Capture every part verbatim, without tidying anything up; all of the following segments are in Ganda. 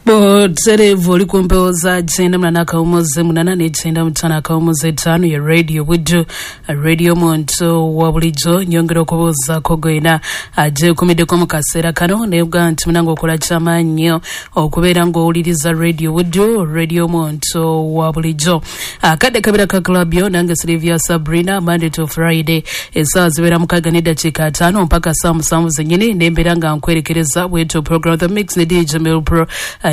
Boterevu oli ku mpewo za kyenda munana akawumuze munana n'ekyenda mutaano akawumuze etaano ya Radio Buddu, radio muntu wa bulijjo. Nyongera okubuuzaako gwena agyekumiddeko mu kaseera kano, naye nti munange okola kyamaanyi nnyo okubeera ng'owuliriza Radio Buddu, radio muntu wa bulijjo. Akadde kabira ka club yo nange Sylvia Sabrina, Monday to Friday essaawa zibeera mukaaga n'eddakiika ataano mpaka saa musanvu zennyini, nembeera nga nkwerekereza bwetyo program The Mix ne D J Mel Pro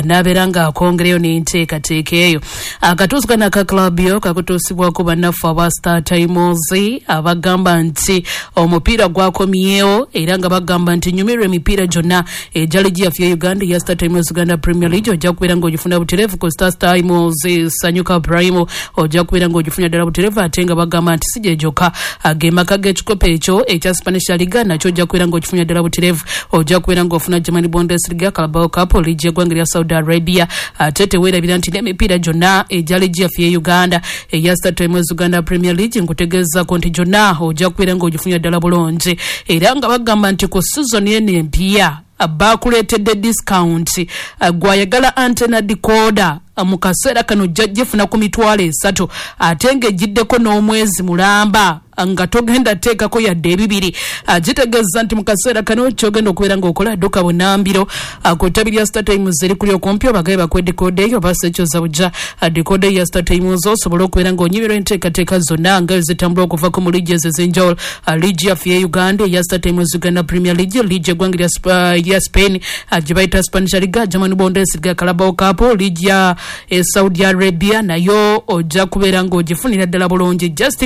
nabeera nga akongereyo n'enteekateeka eyo. Akatuusi kano aka club yo kakutuusibwako bannaffe aba Star Times abagamba nti omupiira gwakomyewo, era nga bagamba nti nyumirwa emipiira gyonna egya liigi yaffe ya Uganda eya Star Times Uganda Premier League. Ojja kubeera ng'ogifuna butereevu ku Star Times Sanyuka Prime, ojja kubeera ng'ogifuna ddala butereevu, ate nga bagamba nti si gye gyokka, ge maka g'ekikopo ekyo ekya Spanish La Liga nakyo ojja kubeera ng'okifunira ddala butereevu. Ojja kubeera ng'ofuna Germany Bundesliga, Carabao Cup, liigi y'eggwanga lya Saudi Arabia, ate teweerabira nti n'emipiira gyonna egya liigi yaffe ya Uganda eya Star Times Uganda Premier League nkutegeezaako nti gyonna ojja kubeera ng'ogifunira ddala bulungi, era nga bagamba nti ku season eno empya bakuleetedde discount. Gwayagala antenna decoder mu kaseera kano ojja gifuna ku mitwalo esatu, ate ng'egiddeko n'omwezi mulamba nga togenda teekako yadde ebibiri. Gitegeeza nti mu kaseera kano kyogenda okubeera ng'okola dduka bunambiro ku ttabi lya Star Times erikuli okumpi, obagabe bakuwe decoder eyo oba ekyoza bujja decoder ya Star Times osobole okubeera ng'onyumirwa enteekateeka zonna nga zitambula okuva mu liigi ezo ez'enjawulo, liigi yaffe ya Uganda eya Star Times Uganda Premier League, liigi eggwanga lya Spain gye bayita Spanish La Liga, Germany Bundesliga, Carabao Cup, liigi ya Saudi Arabia nayo ojja kubeera ng'ogifunira ddala bulungi. Just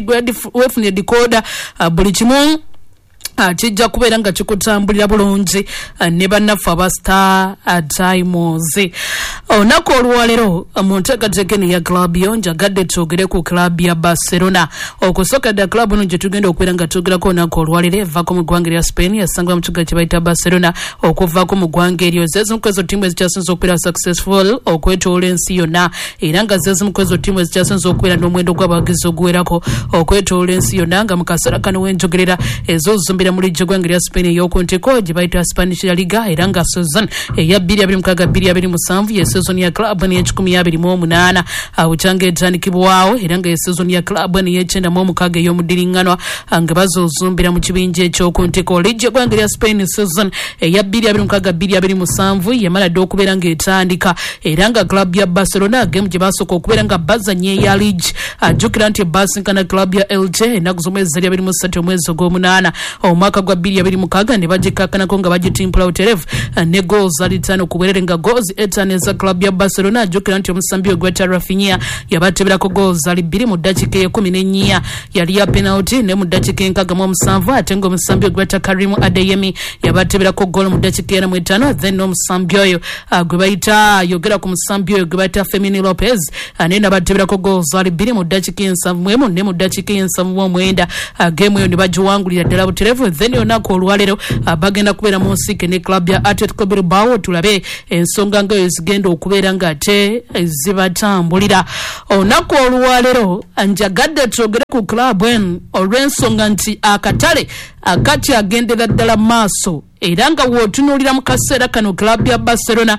weefunire decoder, buli kimu kijja kubeera nga kikutambulira bulungi ne bannaffe aba Star Times. Olunaku olwaleero mu nteekateeka eno ya club yo njagadde twogere ku club ya Barcelona. Okusooka dda club eno gye tugenda okubeera nga twogerako olunaku olwaleero evaako mu ggwanga erya Spain, yasangibwa mu kibuga kye bayita Barcelona. Okuvaako mu ggwanga eryo zezimu ku ezo ttiimu ezikyasinze okubeera successful okwetoola ensi yonna, era nga zezimu ku ezo ttiimu ezikyasinze okubeera n'omuwendo gw'abawagizi oguwerako okwetoola ensi yonna, nga mu kaseera kano wenjogerera ezozumbira mu liigi y'eggwanga lya Spain ey'oku ntiko gye bayita Spanish La Liga, era nga season eya bbiri abiri mukaaga bbiri abiri musanvu ye season ya club n'ey'ekikumi abiri mu omunaana bukyanga etandikibwawo, era nga ye season ya club n'ey'ekyenda mu omukaaga ey'omuddiringanwa nga bazozumbira mu kibinja eky'oku ntiko. Liigi y'eggwanga lya Spain season eya bbiri abiri mukaaga bbiri abiri musanvu yamala dda okubeera ng'etandika, era nga club ya Barcelona game gye basooka okubeera nga bazannya eya liigi, ajjukira nti basinkana club ya Elche ennaku z'omwezi zali abiri mu ssatu omwezi ogw'omunaana omwaka gwa bbiri abiri mukaaga, ne bagikakkanako nga bagitimpula butereevu ne goals ali ttaano ku bwerere, nga goals etaano eza club ya Barcelona. Ajjukira nti omusambi we gweta Rafinha yabateberako goals ali bbiri mu ddakiika ey'ekkumi n'ennya yali ya penalty, ne mu ddakiika enkaaga mu omusanvu, ate ng'omusambi we gweta Karim Adeyemi yabateberako goal mu ddakiika ena mu etaano. Then n'omusambi oyo gwe bayita yogera ku musambi oyo gwe bayita Fermin Lopez naye nabateberako goals ali bbiri mu ddakiika ensanvu mu emu ne mu ddakiika ensanvu mu omwenda, game eyo ne bagiwangulira ddala butereevu. Then olunaku olwaleero bagenda kubeera mu nsiike ne club ya Atletico Bilbao, tulabe ensonga nga eyo zigenda okubeera ng'ate zibatambulira. Olunaku olwaleero njagadde twogere ku club eno olw'ensonga nti akatale akakyagendera ddala maaso, era nga w'otunuulira mu kaseera kano club ya Barcelona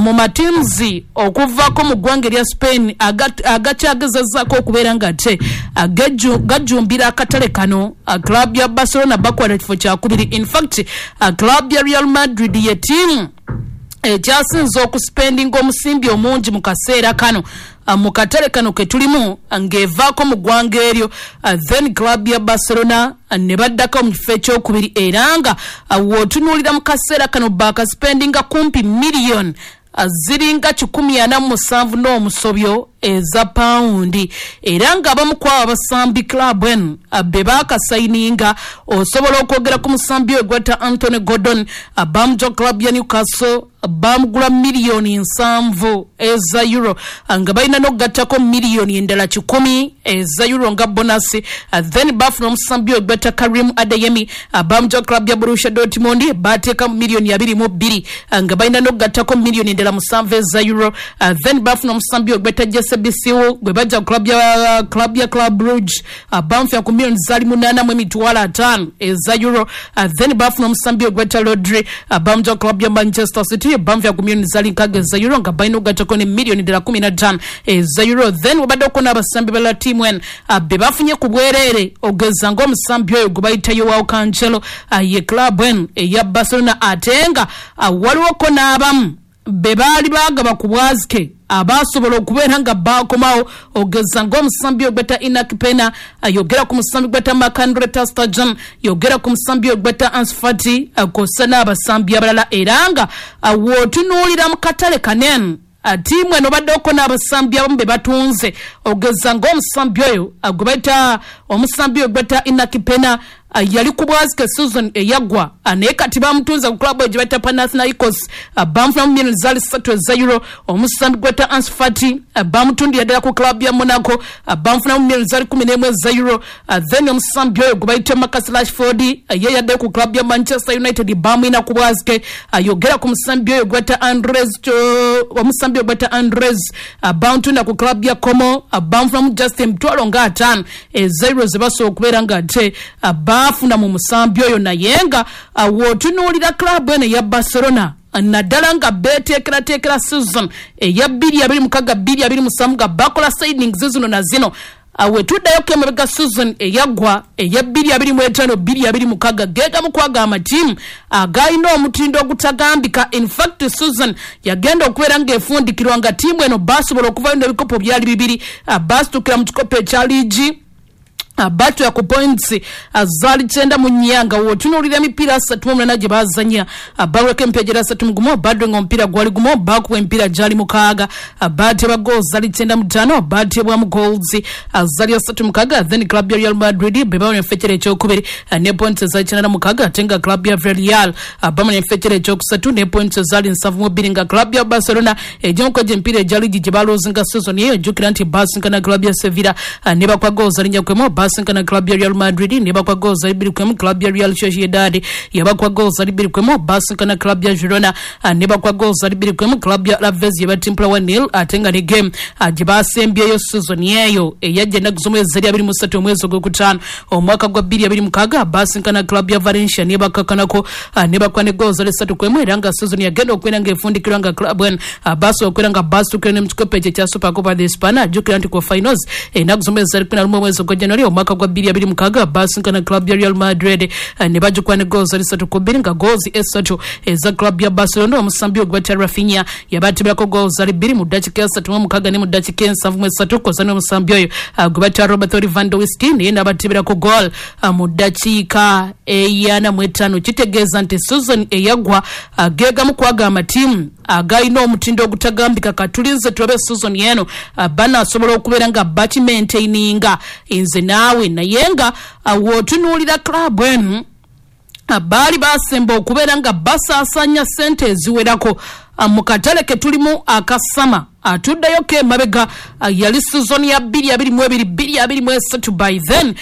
mu matiimuzi okuvaako mu ggwanga erya Spain agakyagezezzaako okubeera ng'ate gajjumbira akatale kano, club ya Barcelona bakwata kifo kyakubiri. In fact club ya Real Madrid ye ttiimu ekyasinze okuspendinga omusimbi omungi mu kaseera kano mu katale kano ke tulimu ng'evaako mu ggwanga eryo, then club ya Barcelona ne baddako mu kifo ekyokubiri, era nga w'otunuulira mu kaseera kano baakaspendinga kumpi miliyoni ziringa kikumi ana mu musanvu n'omusobyo eza pawundi, era nga abamu ku abo abasambi club eno be baakasayininga osobola okwogera ku musambi oyo gweta Anthony Gordon, bamuja club ya Newcastle bamugula miliyoni nsanvu eza euro, nga balina n'okugattako miliyoni endala kikumi eza euro nga bonasi. Then bafuna omusambi oyo gweta Karim Adeyemi, bamuja club ya Borussia Dortmund bateeka miliyoni abiri mu bbiri, nga balina n'okugattako miliyoni endala musanvu eza euro. Then bafuna omusambi oyo gweta Jesse Sebisiwo gwe bajja ku club ya club ya Club Brugge, bamufuna ku miliyoni zali munaana mu emitwalo ataano eza euro. Then bafuna omusambi ogweta Rodri, bamujja ku club ya Manchester City, bamufuna ku miliyoni zali nkaaga eza euro nga balina okugattako ne miliyoni ddala kumi na ttaano eza euro. Then wabadde oko n'abasambi balala ttiimu eno be bafunye ku bwereere, ogeza ng'omusambi oyo gwe bayita Joao Cancelo ye club eno eya Barcelona, ate nga waliwoko n'abamu be baali baagaba ku bwazike abasobola okubeera nga bakomawo, ogeza ng'omusambi ogweta Iñaki Pena, yogera ku musambi gweta Marc-Andre ter Stegen, yogera ku musambi ogweta Ansu Fati, kw'ossa n'abasambi abalala. Era nga w'otunuulira mu katale kanene, ttiimu eno baddeko n'abasambi abamu be batunze, ogeza ng'omusambi oyo gwe bayita omusambi oyo gweta Iñaki Pena yali ku bwazike season eyaggwa, naye kati bamutunze ku club gye bayita Panathinaikos, bamufunamu miliyoni zaali ssatu eza euro. Omusambi gweta Ansu Fati bamutundira ddala ku club ya Monaco, bamufunamu miliyoni zaali kumi n'emu eza euro. Then omusambi oyo gwe bayita Marcus Rashford ye yaddayo ku club ya Manchester United, bamwina ku bwazike. Yogera ku musambi oyo gweta Andres, omusambi oyo gweta Andres bamutunda ku club ya Como, bamufunamu just emitwalo nga ataano eza euro ze basobola okubeera nga ate bafuna mu musambi oyo. Naye nga w'otunuulira club eno eya Barcelona, naddala nga beeteekerateekera season eya bbiri abiri mukaaga bbiri abiri musanvu nga bakola signings zino na zino, wetuddayo emabega season eyaggwa eya bbiri abiri mu etaano bbiri abiri mukaaga geegamu kwaga amatiimu agaalina omutindo ogutagambika. In fact, season yagenda okubeera ng'efundikirwa nga ttiimu eno basobola okuvayo n'ebikopo byali bibiri, baasitukira mu kikopo ekya liigi batwera ku points zaali kyenda mu nnya, nga w'otunuulira emipiira asatu mu omunaana gye baazannya bawulako emipiira gyera asatu mu gumu, badwenga omupiira gwali gumu, baakuba emipiira gyali mukaaga, baatebwa goals zaali kyenda mu ttaano, baatebwamu goals zaali asatu mukaaga. Then club ya Real Madrid be bawona enfekera ekyokubiri ne points zaali kyenda na mukaaga, ate nga club ya Villarreal bamona enfekera ekyokusatu ne points zaali nsanvu mu bbiri, nga club ya Barcelona egimu ku egyo emipiira egya liigi gye baluuzinga season eyo, ojjukira nti baasinkana club ya Sevilla ne bakwa goals zali nnya ku emu, basinkana club ya Real Madrid ne bakwa goals bbiri ku emu, club ya Real Sociedad yabakwa goals bbiri ku emu, basinkana club ya Girona ne bakwa goals bbiri ku emu, club ya Alaves yabatimpula one nil, ate nga ne game gye basembyeyo season eyo eyajja ennaku z'omwezi zali abiri mu ssatu omwezi ogwokutaano omwaka gwa bbiri abiri mukaaga, basinkana club ya Valencia ne bakakkanako ne bakwa ne goals ssatu ku emu. Era nga season yagenda okubeera ng'efundikirwa nga club eno basobola okubeera nga basitukira ne mu kikopo ekyo ekya Super Copa de España. Jjukira nti ku finals ennaku z'omwezi zali kumi na lumu omwezi ogwa January omwaka gwa bbiri abiri mukaaga basinkana club ya Real Madrid ne bagikuba ne goals ssatu ku bbiri, nga goals esatu eza club ya Barcelona omusambi ogweta Rafinha yabatibirako goals bbiri mu ddakiika esatu mu mukaaga ne mu ddakiika ensanvu mu esatu, kw'ossa n'omusambi oyo gwe bayita Robert Lewandowski naye n'abatibirako goal mu ddakiika eyana mu etaano. Kitegeeza nti season eyaggwa geegamu kwaga amatiimu agalina omutindo ogutagambika. Katulinze tulabe season eno banaasobola okubeera nga bakimaintaininga nze naawe. Naye nga w'otunuulira club eno baali basemba okubeera nga basaasaanya ssente eziwerako mu katale ke tulimu akasama. Atuddayo ke emabega yali season ya bbiri abiri mu ebiri bbiri abiri mu esatu, by then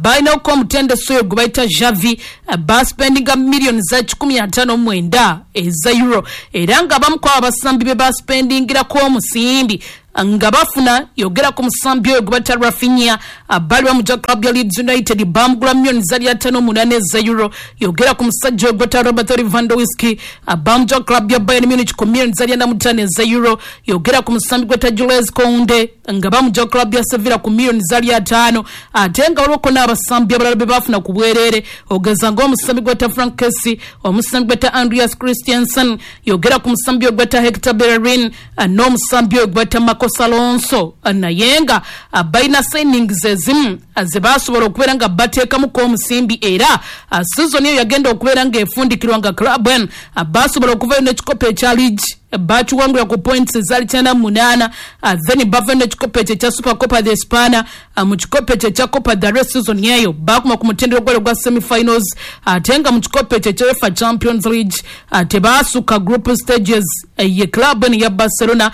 balinako omutendesi oyo gwe bayita Xavi, baspendinga miliyoni za kikumi ataano mu mwenda eza euro, era nga abamu ku abo abasambi be baspendingirako omusimbi nga bafuna, yogera ku musambi oyo gwe bayita Rafinha, bali bamugya club ya Leeds United, bamugula miliyoni zali ataano munaana eza euro. Yogera ku musajja oyo gwe bayita Robert Lewandowski, bamugya club ya Bayern Munich ku miliyoni zali ana mu ttaano eza euro. Yogera ku musambi gwe bayita Jules Kounde nga bamugya club ya Sevilla ku miliyoni zali ataano, ate nga waliwoko n'abasambi abalala be bafuna ku bwereere, ogeza ng'omusambi gwe bayita Frank Kessie, omusambi gwe bayita Andreas Christensen, yogera ku musambi oyo gwe bayita Hector Bellerin n'omusambi oyo gwe bayita Marcos Alonso. Naye nga balina signings ezimu ze basobola okubeera nga bateekamuko omusimbi, era season eyo yagenda okubeera ng'efundikirwa nga club eno basobola okuvayo n'ekikopo ekya liigi, bakiwangula ku points ezaali kyenda mu munaana. Then bava n'ekikopo ekyo ekya Super Copa de España. Mu kikopo ekyo ekya Copa del Rey season eyo baakoma ku mutendera gwali ogwa semifinals, ate nga mu kikopo ekyo ekya UEFA Champions League tebaasukka group stages. Ye club eno ya Barcelona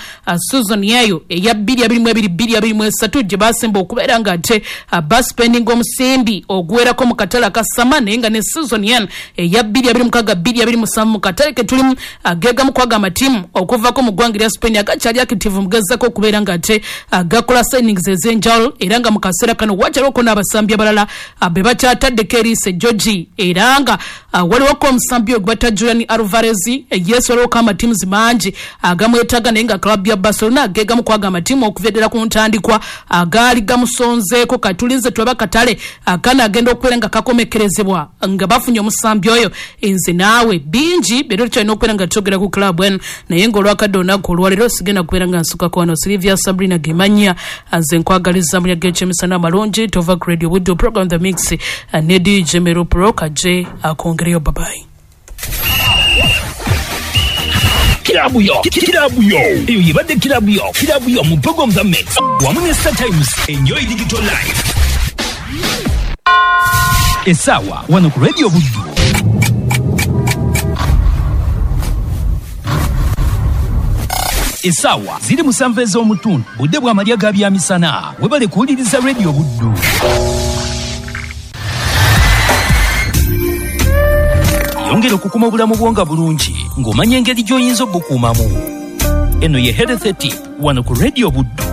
season eyo eya bbiri abiri mu ebiri bbiri abiri mu esatu gye basemba okubeera nga ate baspendinga omusimbi oguwerako mu katale akasama, naye nga ne season eno eya bbiri abiri mukaaga bbiri abiri musanvu mu katale ke tulimu geegamu kwaga amatiimu Amatiimu okuvako mu ggwanga lya Spain agakyali active mugezako okubeera nga ate gakola signings ez'enjawulo, era nga mu kaseera kano wakyaliwo n'abasambi abalala be bakyataddeko eriiso ejjogi, era nga waliwoko omusambi ogwe bata Julian Alvarez. Yes, waliwoko amatiimu mangi agamwetaaga, naye nga club ya Barcelona gegamu kwaga amatiimu okuva eddala ku ntandikwa agaali gamusonzeeko. Katulinze tulaba katale akana agenda okubeera nga kakomekerezebwa nga bafunye omusambi oyo. Nze naawe bingi bero tukyalina okubeera nga twogera ku club eno, naye ng'olwakadde olunaku olwaleero sigenda kubeera nga nsukako wano. Silivia Sabrina Gemanya, nze nkwagaliza mulya g'ekyemisana amalungi. Tova ku Radio Buddu, program The Mix ne D J Mero Pro kaje akongereyo. Babayi. Kilabu yo, kilabu yo, eyo yebadde kilabu yo, kilabu yo mu program The Mix wamu ne Star Times. Enjoy digital life. Esawa wano ku Radio Buddu. Esawa ziri musanvu ez'omutundu, budde bw'amalya ga byamisana. Webale kuwuliriza Radio Buddu. Yongera okukuma obulamu bwo nga bulungi ng'omanya engeri gy'oyinza obukuumamu. Eno ye Health Tip wano ku Radio Buddu.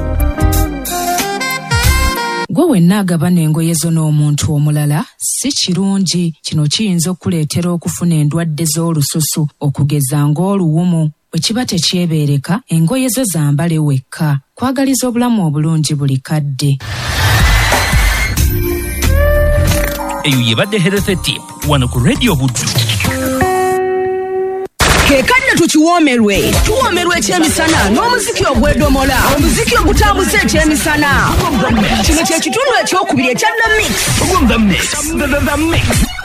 Gwe wenna agabana engoye zo n'omuntu omulala si kirungi. Kino kiyinza okukuleetera okufuna endwadde z'olususu okugeza ng'oluwumu. Bwe kiba tekyebeereka, engoye zo zambale wekka. Kwagaliza obulamu obulungi buli kadde. Eyo yebadde Health Tip wano ku Radio Buddu. Kekadde tukiwoomerwe, tuwoomerwe ekyemisana n'omuziki ogw'edomola, omuziki ogutambuza ekyemisana. Kino kye kitundu ekyokubiri ekya The Mix. The Mix. The Mix.